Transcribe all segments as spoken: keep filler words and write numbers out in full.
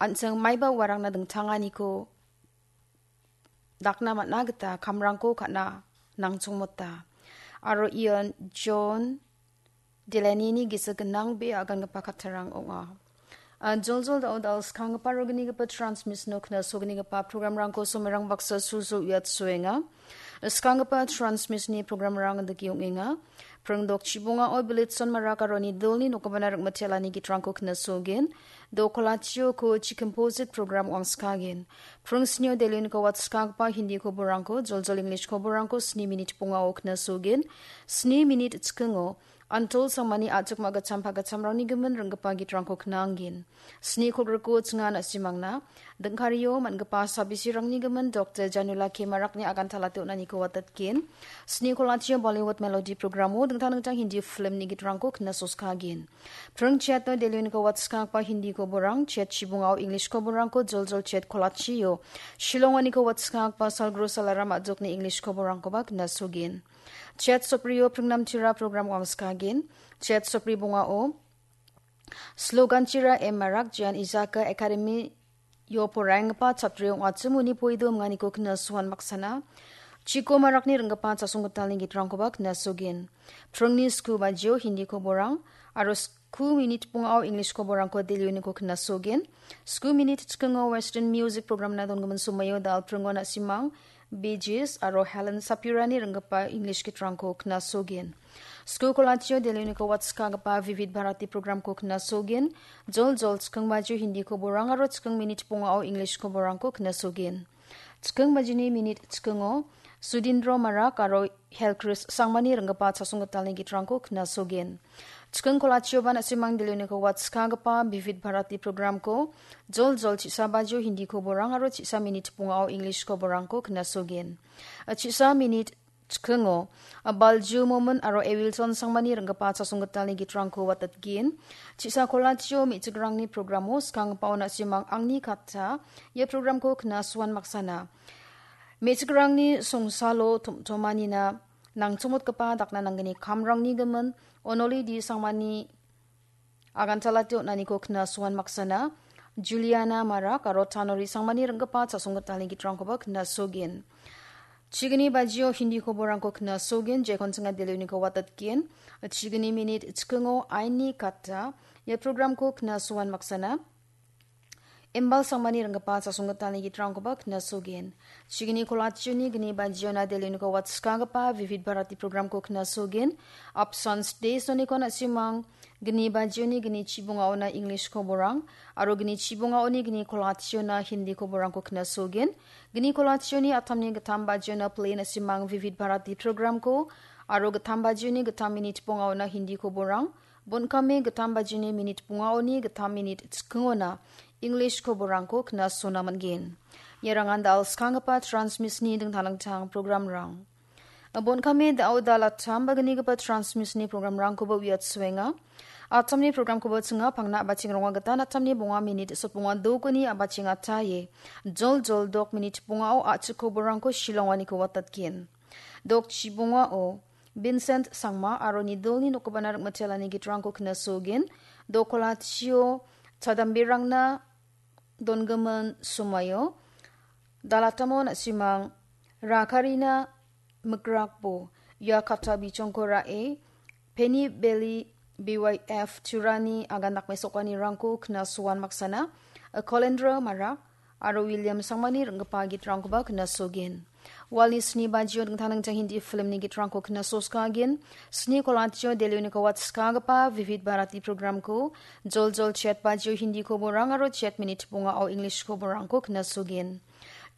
an·ching maiba uarangna dingtanganiko dakna man·a gita kamrangko ka·na nangchongmota. Aro ian John Delaney-ni gisik gnang be agangipa kattarang ong·a. An joljol dal·o dal skanggipa rognigipa transmission-o knasognigipa program-rangko somerang baksa susu uiatsoenga. Skanggipa transmission-ni program-rang dake ong·enga. Pringdok chibongao Bilitson Marak aro Nidolni nokgipana ringmitelani gitrangko knasogen. Dokolachio ko chi composite program wangskagen. Pring snio delioniko watskagipa Hindi koborangko, joljol English koborangko sni minit bongao knasogen. Sni minit chikingo Antol Sangmani a·chik ma·gitcham pagitchamrangni gimin ringgipa gitrangko knangen. Sni kolgriko chinga na·simangna dingkario man·gipa sabisirangni gimin Doktor Janula K Marakni aganta late on·aniko watatgen. Sni kolachio Bollywood melody programo dingtang dingtang Hindi filmni gitrangko knasoskagen. Pring chiato delioniko watskagipa Hindi koborang, chiat chibongao English koborangko joljol chiat kolachio Shillonganiko watskagipa Salgro Salaram a·jokni English koborangkoba knasogen. Chiat soprio pringnamtira program wangskagen. Chiat sopri bongao Sloganchira M Marak Jian Ijaka Academy-o poraienggipa chatri ong·achim uni poido minganiko knasoan maksana. Chiko Marakni ringgipa chasonggitalni gitrangkoba knasogen. Pringni sku bajio Hindi koborang aro sku minit bongao English koborangko delioniko knasogen. Sku minit chikingo Western Music Program-na donggimin somoio dal pringo na·simang Bee Gees aro Helen Sapirani ringgipa English gitrangko knasogen. Sku kolachio delioniko watskagipa Vivid Bharati program-ko knasogen. Joljol chiking bajio Hindi koborang aro chiking minit bongao English koborangko knasogen. Chiking bajini minit chikingo Sudindro Marak aro Helkris Sangmani ringgipa chasonggitalni gitrangko knasogen. Chiking kolachioba na·simang delioniko watskagipa Vivid Bharati program-ko joljol chisa bajio Hindi koborang aro chisa minit bongao English koborangko knasogen. Chisa minit chikingo Balju Momin aro Ewilson Sangmani ringgipa chasonggitalni gitrangko watatgen. Chisa kolachio me·chikrangni programo skanggipao na·simang angni katta ia programko knasoan maksana. Me·chikrangni songsalo tom·tomanina nangchongmotgipa dakna nanggni kamrangni gimin Onoli D Sangmani aganta late on·aniko knasoan maksana. Juliana Marak aro Tanori Sangmani ringgipa chasonggitalni gitrangkoba knasogen. Chigni bajio Hindi koborangko knasogen, jekon chinga delioniko watatgen. Chigni minit chikingo Aini Katta ia programko knasoan maksana. Imbal Sangmani ringgipa chasonggitalni gitrangkoba knasogen. Chigni kolachioni gni bajiona delioniko watskagipa Vivid Bharati programko knasogen. Apsan stage-oniko na·simang gni bajioni gni chibongaona English koborang aro gni chibongaoni gni kolachiona Hindi koborangko knasogen. Gni kolachioni atamni gittam bajiona play na·simang Vivid Bharati programko aro gittam bajioni gittam minit bongaona Hindi koborang. Bon·kame gittam bajini minit bongaoni gittam minit chikingona English koborangko knasona man·gen. Iarangan dal skanggipa transmission-ni dingtang dingtang programrang. Bon·kame da·o dal attam bagnigipa transmission-ni programrangkoba uiatsoenga. Attamni programkoba chinga pangna a·bacheng ronga gita attamni bonga minit sotbonga dokoni a·bacheng ataie joljol dok minit bongao a·chik koborangko Shillonganiko watatgen. Dok chibongao Vincent Sangma aro Nidolni nokgipana ringmitelani gitrangko knasogen. Dokolachio chadamberangna donggimin somoio dal atamo na·simang Rakarina Mikrakbo ia katta bichongko ra·e Penny Belly B Y F Turani agan dakmesokanirangko knasoan maksana Kolendra Marak aro William Sangmani ringgipa gitrangkoba knasogen. Walni sni bajio dingtang dingtang Hindi filmni gitrangko knasoskagen. Sni kolachio delioniko watskagipa Vivid Bharati programko joljol chiat bajio Hindi koborang aro chiat minit bongao English koborangko knasogen.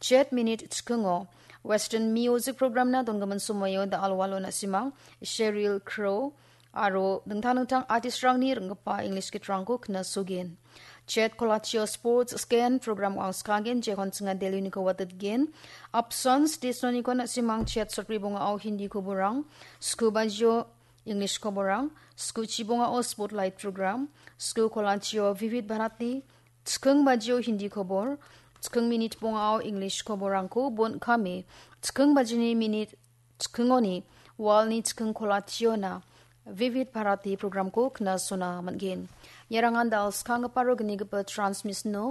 Chiat minit chikingo Western Music Programna donggimin somoio da·alwalo na·simang Sheryl Crow aro dingtang dingtang artistrangni ringgipa English gitrangko knasogen. Chiat kolachio Sports Scan program wangskagen jekon chinga delioniko watatgen. Apsan stage-oniko na·simang chiat sotbri bongao Hindi koborang, sku bajio English koborang, sku chibongao Spotlight program, sku kolachio Vivid Bharati, chiking bajio Hindi kobor, chiking minit bongao English koborangko bon·kame, chiking bajini minit chikingoni walni chiking kolachiona Vivid Bharati programko knasona man·gen. Iarangan dal skanggipa aro gnigipa transmission-o